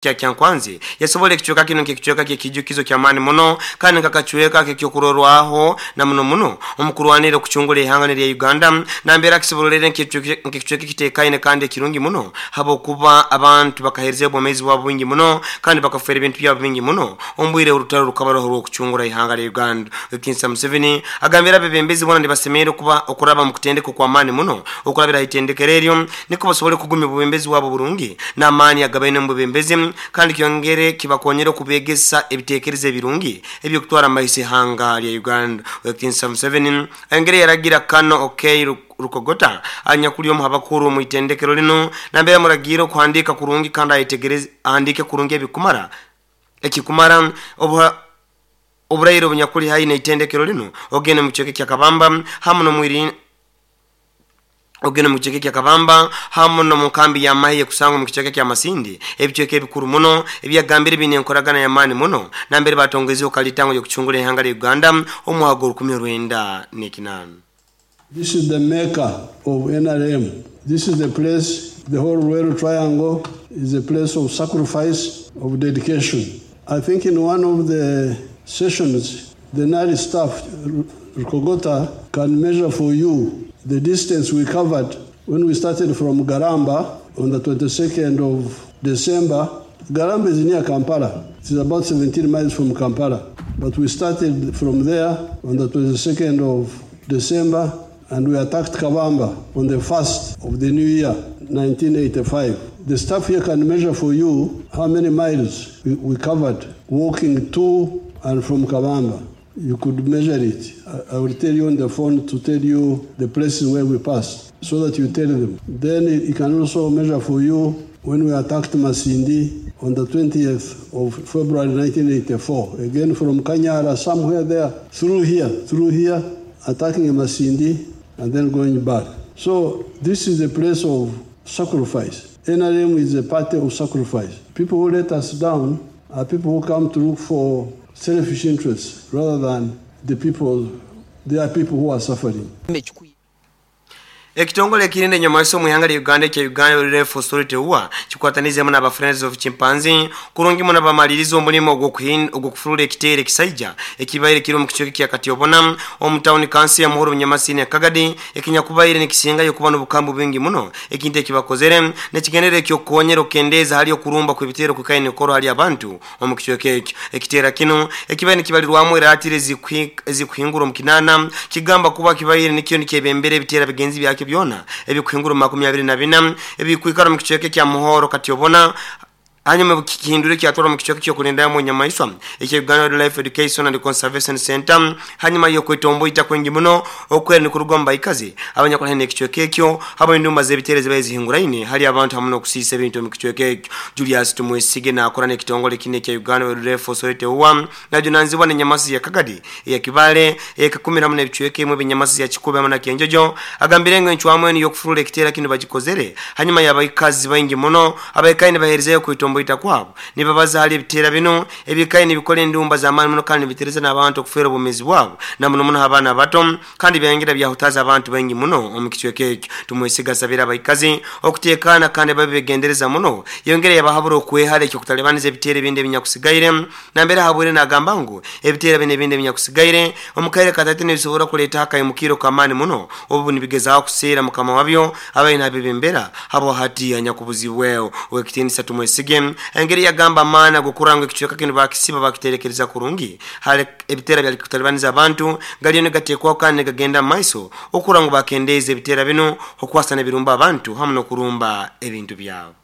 Kya Kyankwanzi yasobola ekicweka kinu nk'ekicweka ky'ekiijukizo ky'amaani muno kandi nk'akacweka ak'ekyokurorwaho na muno muno omu kurwanirra okucungura ihanga n'erya Uganda nambere akisoborolere nk'ekicweka ekitekaine kandi ekirungi muno habwokuba abantu bakaheerezayo obwomeezi bwabo bwingi muno kandi bakafeera ebintu byabo bingi muno omu bwire orutaro rukaba ruroho orw'okucungura ihanga lya Uganda. Ow'ekitiinisa Museveni agambire abebembezi boona nibasemerra kuba okuraba omu kutendeka okw'amaani muno okurabira ha itendekero eryo Nikwo basobole kugumya obwebembezi bwabo burungi n'amaani agabaine omu bwebembezi, kandi kyongere kibakonyere okubeegesa ebiteekerezo ebirungi eby'okutwara mu maiso ihanga lya Uganda. Ow'ekitiinisa Museveni ayongere yaragira Kano Okey Rukogota anyakuli omu h'abakuru omu itendekero linu nambere amuragiire okuhandiika kurungi kandi ayetegereze ahandiike kurungi ebikumara ekikumara obuha oburaire obunyakuli haihi n'itendekero linu ogende omu kicweka ekya Kabamba hamu n'omu Ogende omu kicweka ekya Kabamba hamu n'omu nkambi y'amahe ey'ekusangwa omu kicweka kya Masindi, ebicweka ebikuru muno ebi yagambire biine enkoragana y'amaani muno nambere batongoizeho kalitango y'okucungura ihanga lya Uganda omu mwaka gw'orukumi orwenda n'ekinaana. This is the mecca of NRM. This is the place, the whole Luweero Triangle is a place of sacrifice, of dedication. I think in one of the sessions, the NARI staff, Rukogota, can measure for you the distance we covered when we started from Garamba on the 22nd of December. Garamba is near Kampala. It is about 17 miles from Kampala. But we started from there on the 22nd of December and we attacked Kabamba on the 1st of the new year, 1985. The staff here can measure for you how many miles we, we covered walking to and from Kabamba. You could measure it. I, I will tell you on the phone to tell you the places where we passed so that you tell them. Then it can also measure for you when we attacked Masindi on the 20th of February 1984. Again from Kanyara, somewhere there, through here, through here, attacking Masindi and then going back. So this is a place of sacrifice. NRM is a party of sacrifice. People who let us down are people who come to look for selfish interests rather than the people, there are people who are suffering. Ekitongole ekirinda enyamaiswa omu ihanga lya Uganda ekya Uganda Wildlife Authority, UWA, kikwatanize hamu n'aba Friends of Chimpanzee kurungi muno bamaliriza omulimo ogw'okufurura ekiteera ekisaija ekibaire kiri omu kicweka ekya Katyobona omu tawuni kanso ya Muhoro Bunyamasini Kagadi ekinyakubaire nikisingayo kuba n'obukambu bwingi muno ekintu ekibakozere n'ekigendererwa eky'okukonyera okukendeeza hali okurumba kw'ebiteero okwikaire nikukorwa hali abantu omu kicweka ekyo. Ekiteera kinu ekibaire nikibalirwamu eraatiri ezikuhingura omu kinaana kigamba kuba kibaire nikyo nikyebembera ebiteera bigenzi byakyo byona ebikuhingura omu 24 ebikwikara omu kicweka ekya Muhoro Katyobona hanyuma kihindura kyatwara omu kicweka ekyokulindamu enyamaiswa ekya Uganda Wildlife Education and Conservation Center hanyuma y'okwetomboita kwingi muno okwera nikuruga omu baikazi abanyakuli haihi n'ekicweka ekyo habwa endumba z'ebiteera ezibaire zihinguraine hali abantu hamu n'okusiisa ebintu omu kicweka ekyo. Julius Tumwesige naakora n'ekitongole kinu ekya Uganda Wildlife Authority UWA najunanizibwa n'enyamaiswa ya Kagadi, eya Kibale, eya Kakumiro hamu n'ebicweka ebimwe eby'enyamaiswa ya Kikuube hamu na Kyenjojo agambire ngu encwamu enu y'okufurura ekiteera kinu bagikozere hanyuma y'abaikazi baingi muno abaikaire nibaheerezayo okwetomboita kwabo nibabaza hali ebiteera binu ebikaire nibikora endumba z'amaani muno kandi nibiteereza n'abantu okufeera obwomeezi bwabo na muno muno abaana abato kandi byayongera byahutaaza abantu baingi muno omu kicweka ekyo. Tumwesiga asabire abaikazi okuteekaana kandi babe begendereza muno. Yayongera yabahabura okwehara eky'okutalibaniza ebiteera ebindi ebinyakusigaire. Nambere ahabwire nagamba ngu ebiteera binu ebindi ebinyakusigaire omu kaire kataito nibisobora kuleetaho akaimukiiro k'amaani muno obu nibigezaaho kuseera mukama wabyo abaire nabebembera habwa hati anyakubuzibweho. Ow'ekitiinisa Tumwesige ayongera yagamba amaani ag'okurora ngu ekicweka kinu bakisiba bakiterekereza kurungi hali ebiteera byali kutalibaniza abantu galiyo nigateekwaho kandi nigagenda mu maiso okurora ngu bakendeeza ebiteera binu okwasa n'ebirumba abantu hamu n'okurumba ebintu byabo.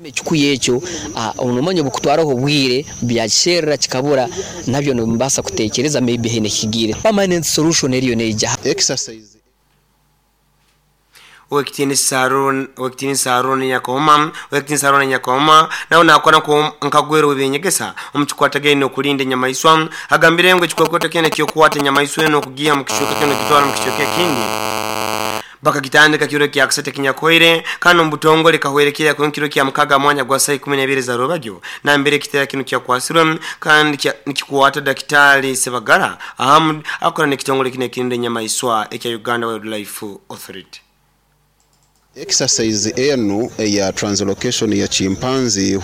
Ekikuya ekyo nomanya obukutwaraho obwire byakisherura kikabura nabyo nimubaasa kutekyereza maybe haine ekigiire. Permanent solution eriyo neija. Exercise. Ow'ekitiinisa Aaron, Ow'ekitiinisa Aaron Nyakahoma, Ow'ekitiinisa Aaron Nyakahoma nawe naakora nka gwero w'eby'enyegesa omu kikwatagaine n'okulinda enyamaiswa. Agambire ngu ekikwekweto kyona eky'okukwata enyamaiswa enu okugiiha omu kicweka kinu okugitwara omu kicweka ekindi bakagitandika kiro kyakasatu ekinyakuhoire kandi omu butongole kahwerekerera kuhika kiro kya mukaga mwanya gwa saaha ikumi n'ebiri za rwebagyo nambere ekiteera kinu kyakwasirwe kandi nikikwata Dakitaali Sebagara Ahamud akora n'ekitongole kinu ekirinda enyamaiswa ekya Uganda Wildlife Authority. Exercise enu eya translocation ya chimpanzee.